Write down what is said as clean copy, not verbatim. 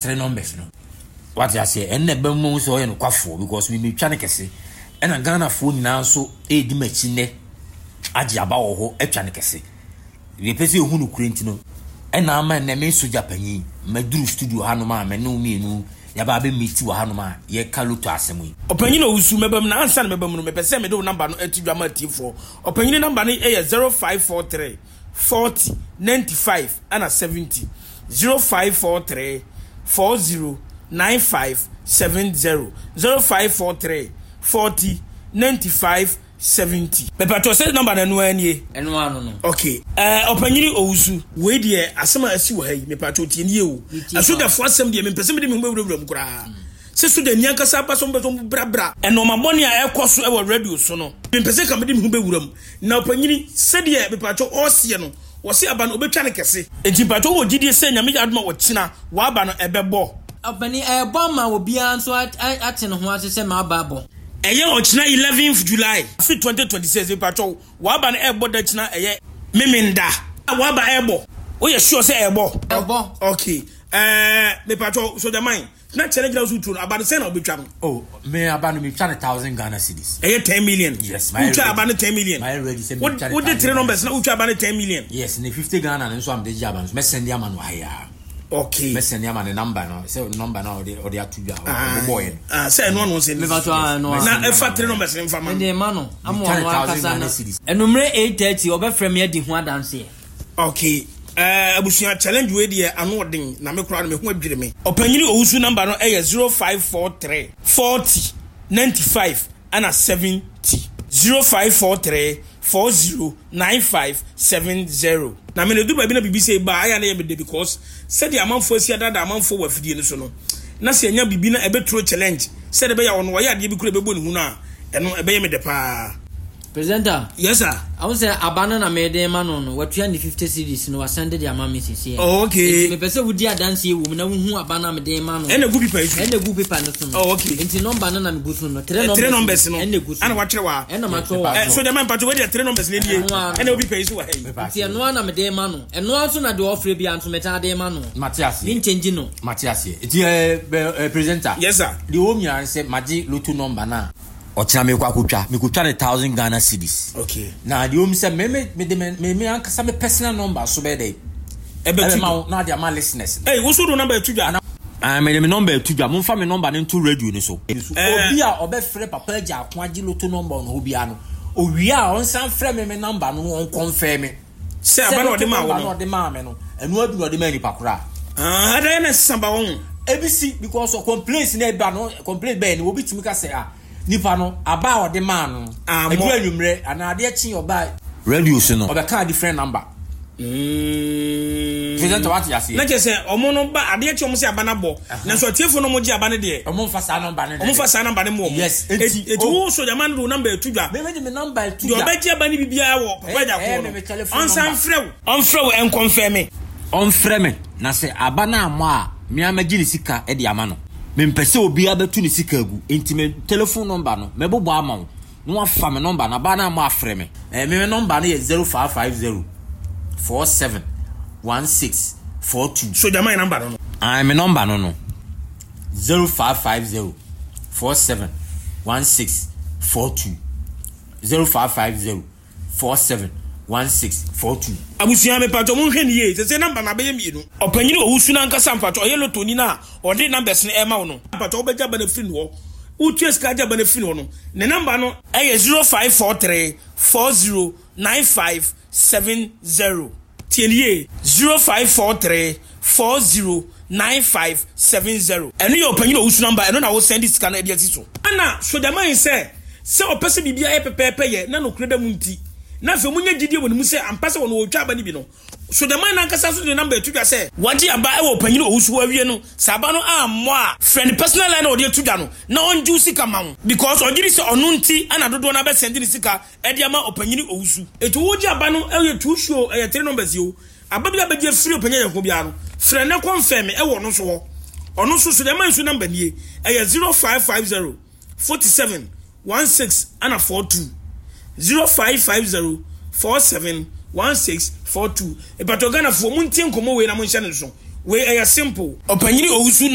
3 numbers no. Wate aseɛ? Ɛno na ɛbɛma mu sɛ ɔyɛ nokwafoɔ because me metwa no kɛse. Ɛna Ghanafoɔ nyinaa nso ɛredi m'akyi nnɛ agye aba wɔ hɔ atwa no kɛse. Deɛ ɛpɛ sɛ ɛhu nokorɛ nti no ɛna ama nnɛ me sogya panyin maduru studio hanom a me ne wo mmienu yɛaba abɛ meet wɔ hanom a yɛka loto asɛm yi. Ɔpanyin Owusu, mɛba mu na ansa na mɛba mu no mepɛ sɛ mede wo number no to dwa ma atiefoɔ. Ɔpanyin number no yɛ 0543 40 95 ɛna 70. 0543 40 95 70. 0543 40 95 70. Mepatwɔ sɛ number no ɛno ara nie? Ɛno ara no no. Ok. Ɛɛ ɔpanyini Owusu, wei deɛ asɛm a asi wɔ ha yi, mepatwɔ tie nie o. Metie paa. Asogyafoɔ asɛm deɛ mempɛ sɛ mede me ho bɛwurawura mu koraa. Sɛ sogyani ankasa aba sɛ ɔmpɛ sɛ ɔbrabra nnoɔma bɔne a ɛrekɔ so wɔ radio so no, mempɛ sɛ nka mede me ho bɛwura mu. Na ɔpanyini, sɛdeɛ mepatwɔ ɔreseɛ no, wɔse aba no ɔbɛtwa no kɛse. Enti mpatwɔ wowɔ gyidie sɛ Nyame yɛ adom a ɔkyena w'aba no ɛbɛbɔ? Ɔpanin, ɛrebɔ ama obiara nso ate ne ho ase sɛ m'aba abɔ. Ɛyɛ ɔkyena eleventh July afe 2026 mepakyɛw w'aba no ɛbɔ da kyena ɛyɛ Memenda w'aba ɛbɔ woyɛ sure sɛ ɛbɔ? Ɛbɔ. Ok ɛɛ mepakyɛw Sogyaman na kyɛ no gyina wo so tuo no aba no sɛn na wobɛtwa no? Oh me aba no metwa no thousand Ghana cedis. Ɛyɛ ten million? Yes mayɛ ready. Wotwa aba no ten million? Mayɛ ready sɛ metwa no thousand. Wode three numbers na wotwa aba no ten million? Yes ne 50 Ghana no nso a mede gye aba no nso mɛsɛnde ama no wɔ ha yi ara. Okay. Mɛsɛn ama ne number no sɛ number no a ɔde ɔde ato dwa ɔbɔbɔɔ yɛ no. Ah, sɛ ɛno ano sɛ Mepa so ah, ɛno na ɛfa three numbers ne nfa ma no. Mede ma no ama ɔno ankasa no. Anummerɛ 8:30 ɔbɛfrɛ me adi ho adanseɛ. Okay. Eh, abusua challenge wei deɛ ano ɔden na me koraa no me ho adwiri me. Ɔpanyini Owusu number no ɛyɛ 0543 40 95 ɛna 70. 0543 40 9570. Na me no ɛduru baabi na biribi sei ba a ɛyɛ a na ɛyɛ me dɛ because sɛdeɛ amanfoɔ asi adaadaa amanfoɔ wɔ afidie no so no na sɛ yɛnya biribi na ɛbɛturo challenge sɛdeɛ ɛbɛyɛ a ɔno ɔyɛ adeɛ bi koraa ɛbɛbɔ ne hu no a ɛno ɛbɛyɛ me dɛ paa. Presenter. Yes sir. Ahu sɛ aba no na mede rema no no, watua ne 50 cedis no, wasan de de ama me seesei. Oh, okay. Nti mepɛ sɛ wodi adanseɛ wɔ mu na wohu aba no a mede rema no. Ɛna egu paper yi so. Ɛna egu paper no so no. Oh, okay. Nti number no na megu so no. Three numbers. Three numbers no. Ɛna egu so. Ɛna wakyerɛ wa. Ɛna matwerɛ wɔ. So deɛ ma mpatwa wei deɛ three numbers no nie. Ɛna obi pɛ yi so wɔ ha yi. Nti ɛno ara na mede rema no. Ɛno ara nso na deɛ ɔfrɛ biara nso metaa de rema no. Mate aseɛ. Me nkyɛngyi no. Mate aseɛ. Nti ɛɛ presenter. Yes sir. Deɛ ɔwɔ mu nyinaa ne sɛ magye lotto number no a. Ɔkyena mekɔ akɔtwa, mekɔtwa no thousand Ghana cedis. Okay. Na deɛ ɔmu sɛ me me mede me me me ankasa me personal number so bɛyɛ dɛ. Ɛbɛtu Ɛbɛma wo na ade ama listeners. Ɛy, wo so do number ɛtu dwa. Ah, mede me number ɛtu dwa. Momfa me number no nto radio no so. Eh. Obi a ɔbɛfrɛ Papa Agya Ako agye lotto number wɔ ne hɔ biara no, owie a ɔnsan frɛ me me number no na ɔnkɔnfɛm me. Sɛ aba na ɔde maa wo no. Sɛ lotto number na ɔde maa me no, ɛno ara bi na ɔde maa nipa koro a. Ah, ɛda yɛ na ɛsesa ba wɔn ho. Ebi si because complaints na ɛba no, complaint bɛyɛ no, obi tumi ka sɛ ah, nipa no aba a ɔde maa no, ɛduru anwummerɛ anaa adeɛ kye ɔba radio so no, ɔbɛka different number. Mm. Presenter wate aseɛ. Na kyerɛ sɛ ɔmo no ba adeɛ kye ɔmo sɛ aba no abɔ. Nanso atiefo no ɔmo gye aba no deɛ. Ɔmo nfa saa number no. Ɔmo nfa saa number no mu ɔmo. Yes. Eti eti wo soja man de wo number etu dwa. Me de me number etu dwa. Deɛ ɔbɛgye aba no bi biara wɔ papa agya koro no. Ɔnsan mfrɛ wo. Ɔmfrɛ wo ɛnkɔnfɛme. Ɔmfrɛ me na sɛ aba no ammɔ a me ara mɛgye ne sika de ama no. Mempɛ sɛ obiara bɛtu ne sika agu enti me telephone number no mɛbobɔ ama wo. Na wafa me nɔmba no, aba no a moafrɛ me. Eh, me me nɔmba no yɛ 0550 47 16 42. Sogya man nɔmba no no. Ae, me nɔmba no no. 0550 47 16 42. 0550 47 16 42. Abusua mepatwɔ monhwɛ no yie sɛsɛ number no abɛyɛ mienu. Ɔpanyin Owusu no ankasa mpatwɔ ɔyɛ lotoni no a ɔde numbers no ɛma wo no. Mpatwɔ wobɛgye aba no afiri ne hɔ wotua sika agye aba no afiri ne hɔ no ne number no. Ɛyɛ 0543 40 95 70 tie no yie 0543 40 95 70 ɛno yɛ ɔpanyin Owusu number ɛno na wo sɛnde sika no ɛde asi so. Ɛna Sogyaman sɛ sɛ ɔpɛ sɛ biribiara yɛ pɛpɛɛpɛ yɛ na nokorɛ da mu nti, na afei wɔnya gyidie wɔ ne mu sɛ ampa sɛ wɔn wɔretwa aba no bi no, Sogyaman no ankasa nso de ne namba ato dwa sɛ wagye aba wɔ ɔpanyin Owusu hɔ awie no, sɛ aba no ammɔ a, frɛ ne personal line a ɔde ato dwa no na ɔngye wo sika ma wo because ɔgye di sɛ ɔno nti na dodoɔ no abɛsɛnde ne sika de ama ɔpanyin Owusu. Enti wogye aba no ɛyɛ two show ɛyɛ three numbers yi o, aba bi a bɛgye afiri ɔpanyin Ayɛnko biara no, frɛ na kɔnfɛme wɔ ɔno nso hɔ. Ɔno nso Sogyaman nso namba nie, ɛyɛ 0550. 47 16 ɛna 42 0550 47 16 42 Mpakyɛw Ghanafoɔ montie nkɔmmɔ wei na monhyɛ no nso. Wei ɛyɛ simple. Ɔpanyini Owusu.